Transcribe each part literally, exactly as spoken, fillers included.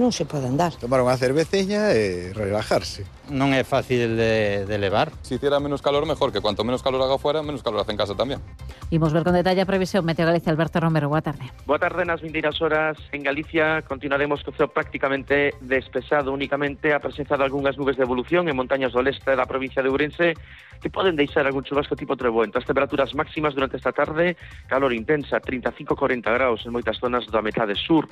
non se pode andar. Tomar unha cerveceña e relajarse. Non é fácil de, de levar. Si hiciera menos calor, mejor, que cuanto menos calor haga fuera, menos calor hace en casa tamén. Imos ver con detalle a previsión Meteo Galicia. Alberto Romero, boa tarde. Boa tarde. Nas vindeiras horas en Galicia continuaremos co ceo prácticamente despexado, únicamente a presenza de algunhas nubes de evolución en montañas do leste da provincia de Ourense que poden deixar algún chubasco tipo treboento. As temperaturas máximas durante esta tarde, calor intensa, trinta e cinco a corenta graus en moitas zonas da metade sur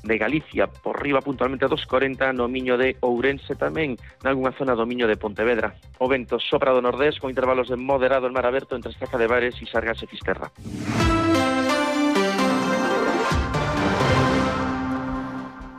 de Galicia, por riba puntualmente dos corenta no miño de Ourense, tamén nalgúna zona do miño de Pontevedra. O vento sopra do nordés con intervalos de moderado en mar aberto entre Estaca de Bares e Sargas e Fisterra.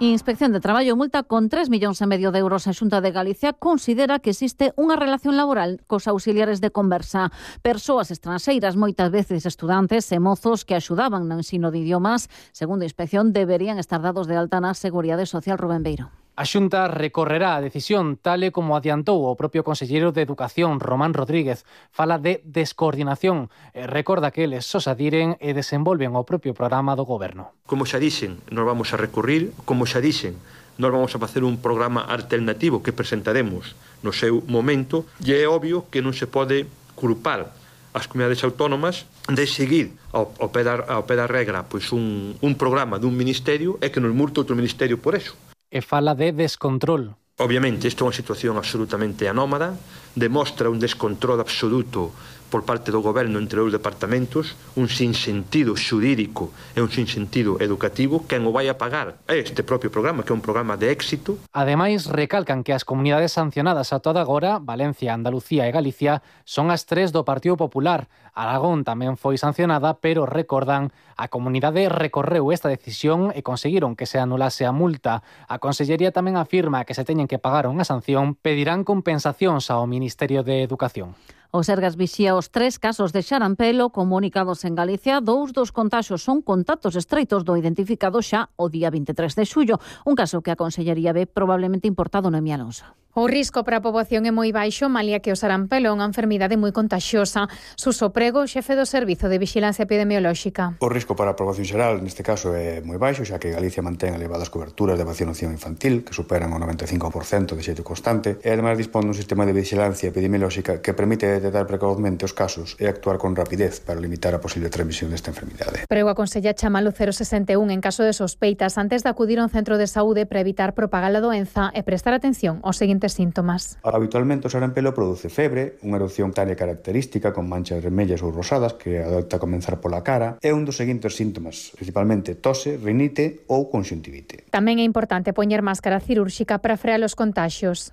Inspección de Traballo multa con tres millóns e medio de euros. A Xunta de Galicia considera que existe unha relación laboral cos auxiliares de conversa. Persoas estranxeiras, moitas veces estudantes e mozos que axudaban no ensino de idiomas, segundo a inspección, deberían estar dados de alta na Seguridade Social. Rubén Beiro. A Xunta recorrerá a decisión, tal e como adiantou o propio conselleiro de Educación, Román Rodríguez. Fala de descoordinación e recorda que eles só se adiren e desenvolven o propio programa do goberno. Como xa dixen, nos vamos a recurrir, como xa dixen, nos vamos a facer un programa alternativo que presentaremos no seu momento, e é obvio que non se pode culpar as comunidades autónomas de seguir ao, ao, pé, da, ao pé da regra pois un, un programa dun ministerio e que nos multe outro ministerio por eso. E fala de descontrol. Obviamente, isto é unha situación absolutamente anómala, demostra un descontrol absoluto por parte do goberno entre os departamentos, un sinsentido xurídico e un sinsentido educativo. Quen o vai a pagar é este propio programa, que é un programa de éxito. Ademais, recalcan que as comunidades sancionadas a toda agora, Valencia, Andalucía e Galicia, son as tres do Partido Popular. Aragón tamén foi sancionada, pero recordan, a comunidade recorreu esta decisión e conseguiron que se anulase a multa. A Consellería tamén afirma que se teñen que pagar unha sanción, pedirán compensacións ao Ministerio de Educación. O Sergas vixía os tres casos de xarampelo comunicados en Galicia. Dous dos contaxios son contactos estreitos do identificado xa o día vinte e tres de xullo. Un caso que a Consellería ve probablemente importado no Noemí Alonso. O risco para a poboación é moi baixo, malia que o sarampelo é unha enfermidade moi contagiosa. Suso Prego, xefe do Servizo de Vixilancia Epidemiolóxica. O risco para a poboación xeral neste caso é moi baixo, xa que Galicia mantén elevadas coberturas de vacinación infantil, que superan o noventa e cinco por cento de xeito constante, e ademais dispón dun sistema de vixilancia epidemiolóxica que permite detectar precozmente os casos e actuar con rapidez para limitar a posible transmisión desta enfermidade. Prego aconsella chamar o cero sesenta e un en caso de sospeitas antes de acudir a un centro de saúde para evitar propagar a doenza e prestar atención aos seguintes síntomas. Habitualmente o sarampelo produce febre, unha erupción cutánea característica con manchas vermellas ou rosadas que adopta a comenzar pola cara e un dos seguintes síntomas, principalmente tose, rinite ou conxuntivite. Tamén é importante poñer máscara cirúrxica para frear os contaxios.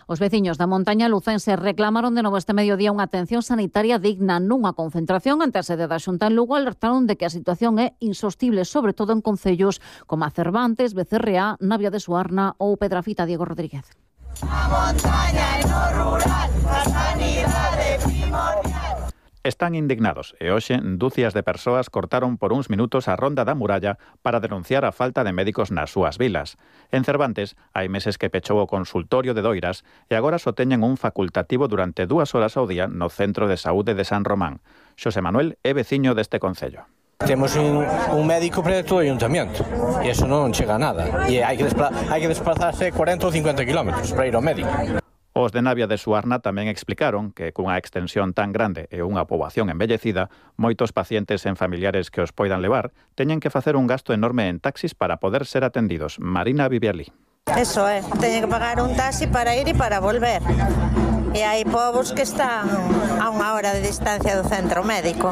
Os veciños da montaña lucense reclamaron de novo este mediodía unha atención sanitaria digna. Nunha concentración ante a sede da Xunta en Lugo alertaron de que a situación é insostible, sobre todo en concellos como a Cervantes, Becerreá, Navia de Suarna ou Pedrafita. Diego Rodríguez. A montaña e no rural, a sanidade primordial. Están indignados e hoxe dúcias de persoas cortaron por uns minutos a ronda da muralla para denunciar a falta de médicos nas súas vilas. En Cervantes hai meses que pechou o consultorio de Doiras e agora só teñen un facultativo durante dúas horas ao día no Centro de Saúde de San Román. Xosé Manuel é veciño deste concello. Temos un, un médico para todo o ayuntamiento e iso non chega a nada. E hai que, despla- hai que desplazarse corenta ou cincuenta kilómetros para ir ao médico. Os de Navia de Suarna tamén explicaron que cunha extensión tan grande e unha poboación envellecida, moitos pacientes en familiares que os poidan levar teñen que facer un gasto enorme en taxis para poder ser atendidos. Marina Vivialí. Eso é, teñen que pagar un taxi para ir e para volver. E hai povos que están a unha hora de distancia do centro médico.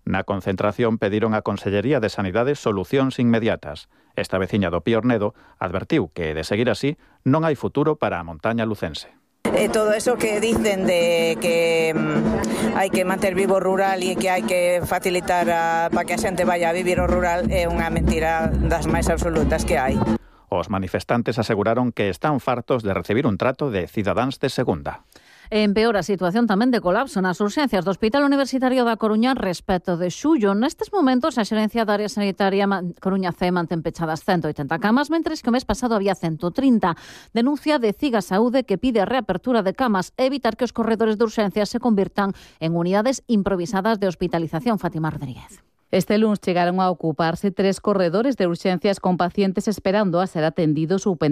Na concentración pediron á Consellería de Sanidade solucións inmediatas. Esta veciña do Piornedo advertiu que, de seguir así, non hai futuro para a montaña lucense. Eh, todo eso que dicen de que mm, hai que manter vivo o rural e que hai que facilitar a, para que a xente vaya a vivir o rural é unha mentira das máis absolutas que hai. Os manifestantes aseguraron que están fartos de recibir un trato de cidadáns de segunda. Empeora a situación tamén de colapso nas urxencias do Hospital Universitario da Coruña respecto de xullo. Nestes momentos, a xerencia da área sanitaria Coruña C mantén pechadas ciento oitenta camas, mentres que o mes pasado había ciento trinta. Denuncia de Ciga Saúde que pide a reapertura de camas e evitar que os corredores de urxencias se convirtan en unidades improvisadas de hospitalización. Fátima Rodríguez. Este luns chegaron a ocuparse tres corredores de urxencias con pacientes esperando a ser atendidos ou